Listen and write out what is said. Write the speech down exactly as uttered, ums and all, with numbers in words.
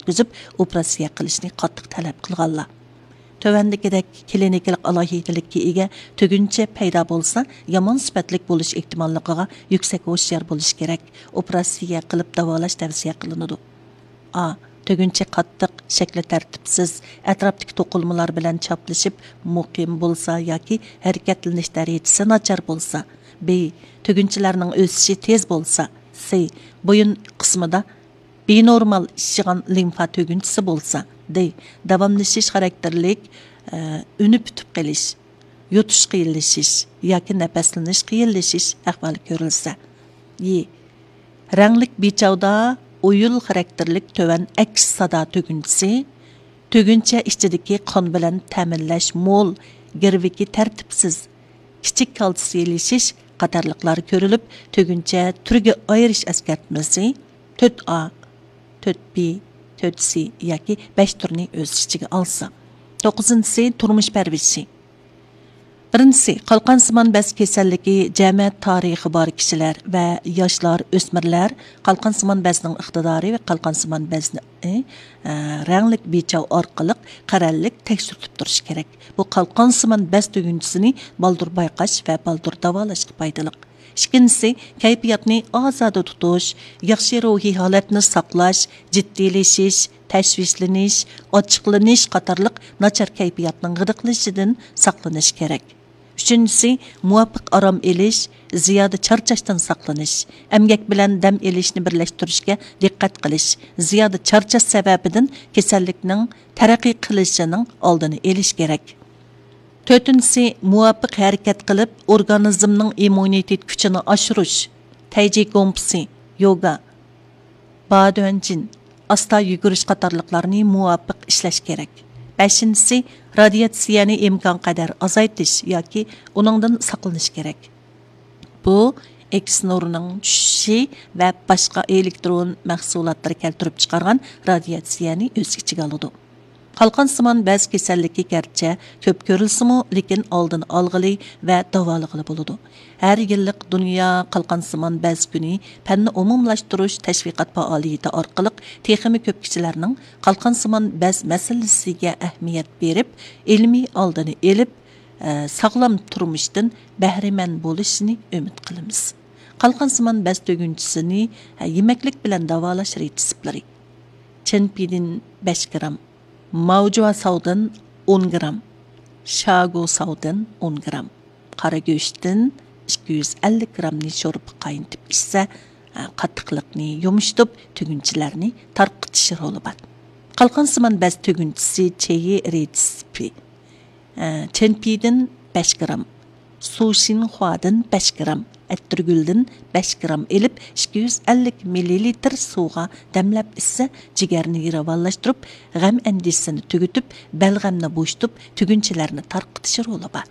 ئۆتكۈزۈپ، ئوپېراتسىيە قىلىشنى قاتتىق تەلەپ قىلغانلار. تۆۋەندىكىدەك كلىنىكىلىق ئالاھىدىلىككە ئىگە تۈگۈنچە پەيدا بولسا، يامان سۈپەتلىك بولۇش ئېھتىماللىقىغا يۈكسەك ھوشيار بولۇش كېرەك. ئوپېراتسىيە قىلىپ داۋالاش تەۋسىيە قىلىنىدۇ. ئا، تۈگۈنچە قاتتىق، شەكلى تەرتىپسىز، ئەتراپتىكى توقۇلمىلار بىلەن چاپلىشىپ، مۇقىم بولسا ياكى ھەرىكەتلىنىش دەرىجىسى ناچار بولسا. بى، تۈگۈنچىلەرنىڭ ئۆسۈشى تېز بولسا. سى، بويۇن قىسمىدا بىنورمال ئىششىغان لىمفا تۈگۈنچىسى بولسا. دى، داۋاملىشىش خاراكتېرلىك، ئە، ئۈنى پۈتۈپ قېلىش، يۇتۇش قىيىنلىشىش ياكى نەپەسلىنىش قىيىنلىشىش ئەھۋالى كۆرۈلسە. يى، رەڭلىك بىچاۋدا ئويۇل خاراكتېرلىك تۆۋەن ئەكس سادا تۈگۈنچىسى، تۈگۈنچە ئىچىدىكى قان بىلەن تەمىنلەش مول، گىرۋىكى تەرتىپسىز، كىچىك كالتسىيلىشىش قاتارلىقلار كۆرۈلۈپ، تۈگۈنچە تۈرگە ئايرىش ئەسكەرتمىسى تۆت ئا، تۆت بى، تۆت سى ياكى بەش تۈرنى ئۆز ئىچىگە ئالسا. توققۇزىنچىسى، تۇرمۇش پەرۋىشى. بىرىنچىسى، قالقانسىمان بەز كېسەللىكى جەمەت تارىخى بار كىشىلەر ۋە ياشلار، ئۆسمۈرلەر قالقانسىمان بەزنىڭ ئىقتىدارى ۋە قالقانسىمان بەزنى، ئە، رەڭلىك بىچاۋ ئارقىلىق قەرەللىك تەكشۈرتۈپ تۇرۇشى كېرەك. بۇ قالقانسىمان بەز تۈگۈنچىسىنى بالدۇر بايقاش ۋە بالدۇر داۋالاشقا پايدىلىق. ئىككىنچىسى، كەيپىياتنى ئازادە تۇتۇش، ياخشى روھىي ھالەتنى ساقلاش، جىددىيلىشىش، تەشۋىشلىنىش، ئاچچىقلىنىش قاتارلىق ناچار كەيپىياتنىڭ غىدىقلىشىشىدىن ساقلىنىش كېرەك. ئۈچىنچىسى، مۇۋاپىق ئارام ئېلىش، زىيادە چارچاشتىن ساقلىنىش، ئەمگەك بىلەن دەم ئېلىشنى بىرلەشتۈرۈشكە دىققەت قىلىش، زىيادە چارچاش سەۋەبىدىن كېسەللىكنىڭ تەرەققىي قىلىشىنىڭ ئالدىنى ئېلىش كېرەك. تۆتىنچىسى، مۇۋاپىق ھەرىكەت قىلىپ، ئورگانىزمنىڭ ئىممۇنىتېت كۈچىنى ئاشۇرۇش، تەيجى گومپىسى، يوگا، بادۇەنجىن، ئاستا يۈگۈرۈش قاتارلىقلارنى مۇۋاپىق ئىشلەش كېرەك. بەشىنچىسى، رادىياتسىيەنى ئىمكانقەدەر ئازايتىش ياكى ئۇنىڭدىن ساقلىنىش كېرەك. بۇ ئېكس نۇرىنىڭ چۈشۈشى ۋە باشقا ئېلېكترون مەھسۇلاتلىرى كەلتۈرۈپ چىقارغان رادىياتسىيەنى ئۆز ئىچىگە ئالىدۇ. قالقانسىمان بەز كېسەللىكى گەرچە كۆپ كۆرۈلسىمۇ، لېكىن ئالدىنى ئالغىلى ۋە داۋالىغىلى بولىدۇ. ھەر يىللىق دۇنيا قالقانسىمان بەز كۈنى پەننى ئومۇملاشتۇرۇش تەشۋىقات پائالىيىتى ئارقىلىق تېخىمۇ كۆپ كىشىلەرنىڭ قالقانسىمان بەز مەسىلىسىگە ئەھمىيەت بېرىپ، ئىلمىي ئالدىنى ئېلىپ، ئە، ساغلام تۇرمۇشتىن بەھرىمەن بولۇشىنى ئۈمىد قىلىمىز. قالقانسىمان بەز تۈگۈنچىسىنى، ئە، يېمەكلىك بىلەن داۋالاش رېتسېپلىرى. چېنپىدىن بەش گرام، ماۋجۇا ساۋدىن ئون گرام، شاگو ساۋدىن ئون گرام، قارا گۆشتىن ئىككى يۈز ئەللىك گرامنى شورپىغا قاينىتىپ ئىچسە، قاتتىقلىقنى يۇمشىتىپ، تۈگۈنچىلەرنى تارقىتىش رولى بار. قالقانسىمان بەز تۈگۈنچىسى چېيى رېتسېپى. چېنپىدىن بەش گرام، سۇشىنخۇادىن بەش گرام، ئەتىرگۈلدىن بەش گرام ئېلىپ، ئىككى يۈز ئەللىك مىللىلىتىر سۇغا دەملەپ ئىچسە، جىگەرنى راۋانلاشتۇرۇپ، غەم ئەندىشىسىنى تۈگىتىپ، بەلغەمنى بوشىتىپ، تۈگۈنچىلەرنى تارقىتىش رولى بار.